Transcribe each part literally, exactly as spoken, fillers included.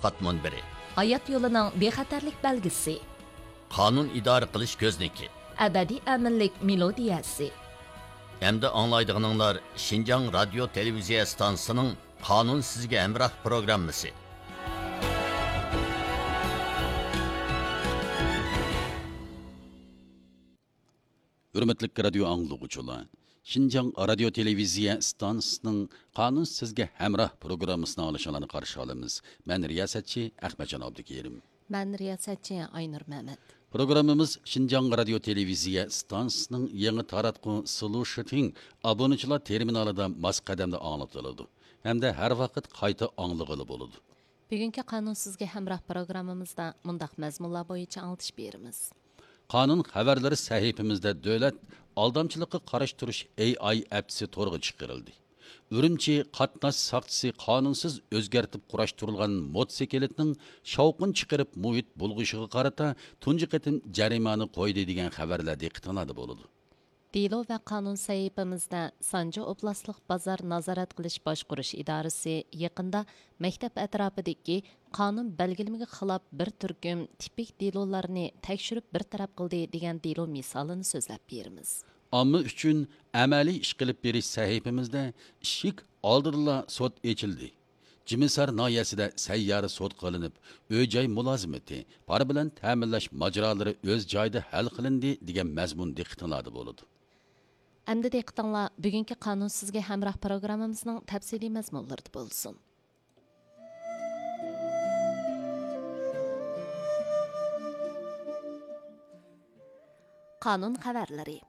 تەتقىقات مۇنبىرى. ھايات يولىنىڭ بىخەتەرلىك بەلگىسى. قانۇن ئىدارە قىلىش كۆزنىكى. ئەبەدىي ئەمىنلىك مېلودىيەسى. ئەمدى ئاڭلايدىغىنىڭلار شىنجاڭ رادىيو تېلېۋىزىيە ئىستانسىسىنىڭ قانۇن سىزگە ھەمراھ پروگراممىسى. ھۆرمەتلىك رادىيو ئاڭلىغۇچىلار، شىنجاڭ رادىيو تېلېۋىزىيە ئىستانسىسىنىڭ قانۇن سىزگە ھەمراھ پروگراممىسىنى ئاڭلىشىڭلارنى قارشى ئالىمىز. مەن رىياسەتچى ئەخمەتجان ئابدۇكېرىم. مەن رىياسەتچى ئاينۇر مەمەت. پروگراممىمىز شىنجاڭ رادىيو تېلېۋىزىيە ئىستانسىسىنىڭ يېڭى تاراتقۇ سلۇشىتىڭ ئابۇنىچىلار تېرمىنالىدا ماس قەدەمدە ئاڭلىتىلىدۇ ھەمدە ھەر ۋاقىت قايتا ئاڭلىغىلى بولىدۇ. بۈگۈنكى قانۇن سىزگە ھەمراھ پروگراممىمىزدا مۇنداق مەزمۇنلار بويىچە ئاڭلىتىش بېرىمىز. قانۇن خەۋەرلىرى سەھىپىمىزدە دۆلەت ئالدامچىلىققا قارشى تۇرۇش ئېي ئاي ئەپچىسى تورغا چىقىرىلدى. ئۈرۈمچى قاتناش ساقچىسى قانۇنسىز ئۆزگەرتىپ قۇراشتۇرۇلغان موتوسىكلىتنىڭ شاۋقۇن چىقىرىپ مۇھىت بۇلغىشىغا قارىتا تۇنجى قېتىم جەرىمانە قويدى دېگەن خەۋەرلەر دىققىتىڭلاردا بولىدۇ. دېلو ۋە قانۇن سەھىپىمىزدە سانجى ئوبلاستلىق بازار نازارەت قىلىش باشقۇرۇش ئىدارىسى يېقىندا مەكتەپ ئەتراپىدىكى قانۇن بەلگىلىمىگە خىلاپ بىر تۈركۈم تىپىك دېلولارنى تەكشۈرۈپ بىر تەرەپ قىلدى دېگەن دېلو مىسالىنى سۆزلەپ بېرىمىز. ئامما ئۈچۈن ئەمەلىي ئىش قىلىپ بېرىش سەھىپىمىزدە ئىشىك ئالدىدىلا سوت ئېچىلدى. جىمىسار ناھىيەسىدە سەييارە سوت قىلىنىپ، ئۆي-جاي مۇلازىمىتى، پارا بىلەن تەمىنلەش ماجىرالىرى ئۆز جايىدا ھەل قىلىندى دېگەن مەزمۇن دىققىتىڭلاردا بولىدۇ. ئەمدى دىققىتىڭلار بۈگۈنكى قانۇن سىزگە ھەمراھ پروگراممىمىزنىڭ تەپسىلىي مەزمۇنلىرىدا بولسۇن. قانۇن خەۋەرلىرى.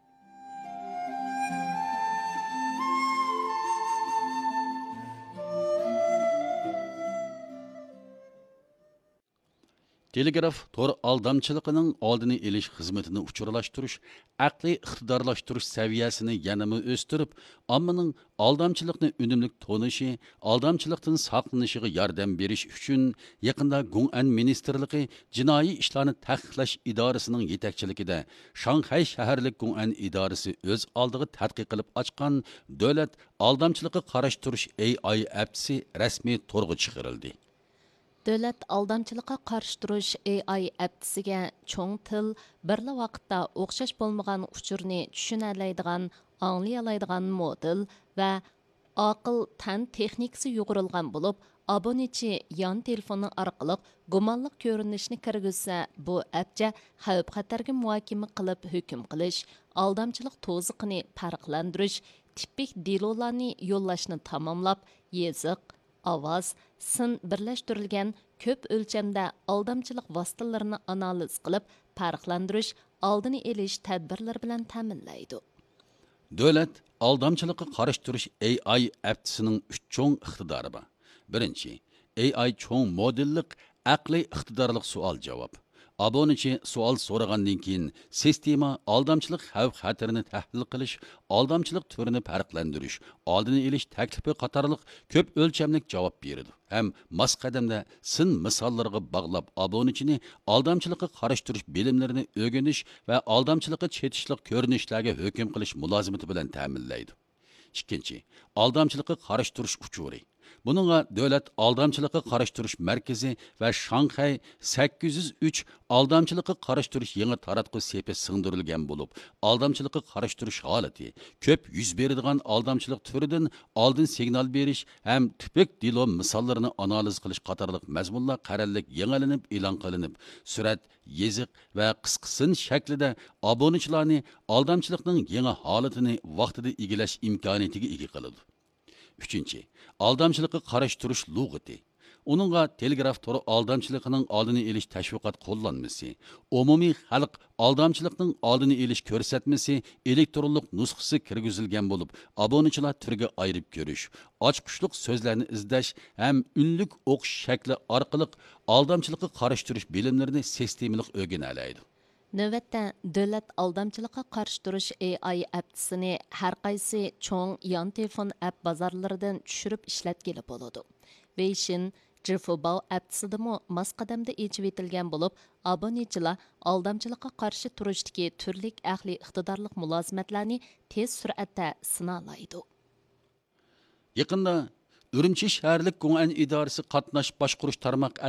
تېلېگراف تور ئالدامچىلىقىنىڭ ئالدىنى ئېلىش خىزمىتىنى ئۇچۇرلاشتۇرۇش، ئەقلىي ئىقتىدارلاشتۇرۇش سەۋىيەسىنى يەنىمۇ ئۆستۈرۈپ، ئاممىنىڭ ئالدامچىلىقنى ئۈنۈملۈك تونۇشى، ئالدامچىلىقتىن ساقلىنىشىغا ياردەم بېرىش ئۈچۈن، يېقىندا گۇڭئەن مىنىستىرلىقى جىنايى ئىشلارنى تەھقىقلەش ئىدارىسىنىڭ يېتەكچىلىكىدە شاڭخەي شەھەرلىك گۇڭئەن ئىدارىسى ئۆز ئالدىغا تەتقىق قىلىپ ئاچقان دۆلەت ئالدامچىلىققا قارشى تۇرۇش ئېي ئاي ئەپچىسى رەسمىي تورغا چىقىرىلدى. دۆلەت ئالدامچىلىققا قارشى تۇرۇش ئېي ئاي ئەپچىسىگە چوڭ تىل، بىرلا ۋاقىتتا ئوخشاش بولمىغان ئۇچۇرنى چۈشىنەلەيدىغان، ئاڭلىيالايدىغان مودېل ۋە ئاقىل تەن تېخنىكىسى يۇغۇرۇلغان بولۇپ، ئابۇنىچى يان تېلېفونى ئارقىلىق گۇمانلىق كۆرۈنۈشنى كىرگۈزسە، بۇ ئەپچە خەۋپ-خەتەرگە مۇھاكىمە قىلىپ ھۆكۈم قىلىش، ئالدامچىلىق توزىقىنى پەرقلەندۈرۈش، تىپىك دېلولارنى يوللاشنى تاماملاپ، يېزىق، ئاۋاز، سىن بىرلەشتۈرۈلگەن كۆپ ئۆلچەمدە ئالدامچىلىق ۋاسىتىلىرىنى ئانالىز قىلىپ، پەرقلەندۈرۈش، ئالدىنى ئېلىش تەدبىرلىرى بىلەن تەمىنلەيدۇ. دۆلەت ئالدامچىلىققا قارشى تۇرۇش ئېي ئاي ئەپچىسىنىڭ ئۈچ چوڭ ئىقتىدارى بار. بىرىنچى، ئېي ئاي چوڭ مودېللىق ئەقلىي ئىقتىدارلىق سوئال-جاۋاب. ئابۇنىچى سوئال سورىغاندىن كېيىن، سىستېما ئالدامچىلىق خەۋپ-خەتىرىنى تەھلىل قىلىش، ئالدامچىلىق تۈرىنى پەرقلەندۈرۈش، ئالدىنى ئېلىش تەكلىپى قاتارلىق كۆپ ئۆلچەملىك جاۋاب بېرىدۇ ھەم ماس قەدەمدە سىن مىساللىرىغا باغلاپ، ئابۇنىچىنى ئالدامچىلىققا قارشى تۇرۇش بىلىملىرىنى ئۆگىنىش ۋە ئالدامچىلىققا چېتىشلىق كۆرۈنۈشلەرگە ھۆكۈم قىلىش مۇلازىمىتى بىلەن تەمىنلەيدۇ. ئىككىنچى، ئالدامچىلىققا قارشى تۇرۇش ئۇچۇرى. بۇنىڭغا دۆلەت ئالدامچىلىققا قارشى تۇرۇش مەركىزى ۋە شاڭخەي سەككىز يۈز ئۈچ ئالدامچىلىققا قارشى تۇرۇش يېڭى تاراتقۇ سېپى سىڭدۈرۈلگەن بولۇپ، ئالدامچىلىققا قارشى تۇرۇش ھالىتى، كۆپ يۈز بېرىدىغان ئالدامچىلىق تۈرىدىن ئالدىن سىگنال بېرىش ھەم تىپىك دېلو مىساللىرىنى ئانالىز قىلىش قاتارلىق مەزمۇنلار قەرەللىك يېڭىلىنىپ ئېلان قىلىنىپ، سۈرەت، يېزىق ۋە قىسقا سىن شەكلىدە ئابۇنىچىلارنى ئالدامچىلىقنىڭ يېڭى ھالىتىنى ۋاقتىدا ئىگىلەش ئىمكانىيىتىگە ئىگە قىلىدۇ. ئۈچىنچى، ئالدامچىلىققا قارشى تۇرۇش لۇغىتى. ئۇنىڭغا تېلېگراف تورى ئالدامچىلىقىنىڭ ئالدىنى ئېلىش تەشۋىقات قوللانمىسى، ئومۇمىي خەلق ئالدامچىلىقنىڭ ئالدىنى ئېلىش كۆرسەتمىسى ئېلېكترونلۇق نۇسخىسى كىرگۈزۈلگەن بولۇپ، ئابۇنىچىلار تۈرگە ئايرىپ كۆرۈش، ئاچقۇچلۇق سۆزلەرنى ئىزدەش ھەم ئۈنلۈك ئوقۇش شەكلى ئارقىلىق ئالدامچىلىققا قارشى تۇرۇش بىلىملىرىنى سىستېمىلىق ئۆگىنەلەيدۇ. نۆۋەتتە، دۆلەت ئالدامچىلىققا قارشى تۇرۇش ئېي ئاي ئەپچىسىنى ھەر قايسى چوڭ يان تېلېفون ئەپ بازارلىرىدىن چۈشۈرۈپ ئىشلەتكىلى بولىدۇ. ۋېيشىن، جىفۇباۋ ئەپچىسىدىمۇ ماس قەدەمدە ئېچىۋېتىلگەن بولۇپ، ئابۇنىچىلار ئالدامچىلىققا قارشى تۇرۇشتىكى تۈرلۈك ئەقلىي ئىقتىدارلىق مۇلازىمەتلەرنى تېز سۈرئەتتە سىنالايدۇ. يېقىندا ئۈرۈمچى شەھەرلىك گۇڭئەن ئىدارىسى قاتناش باشقۇرۇش تارماق ئەترىتى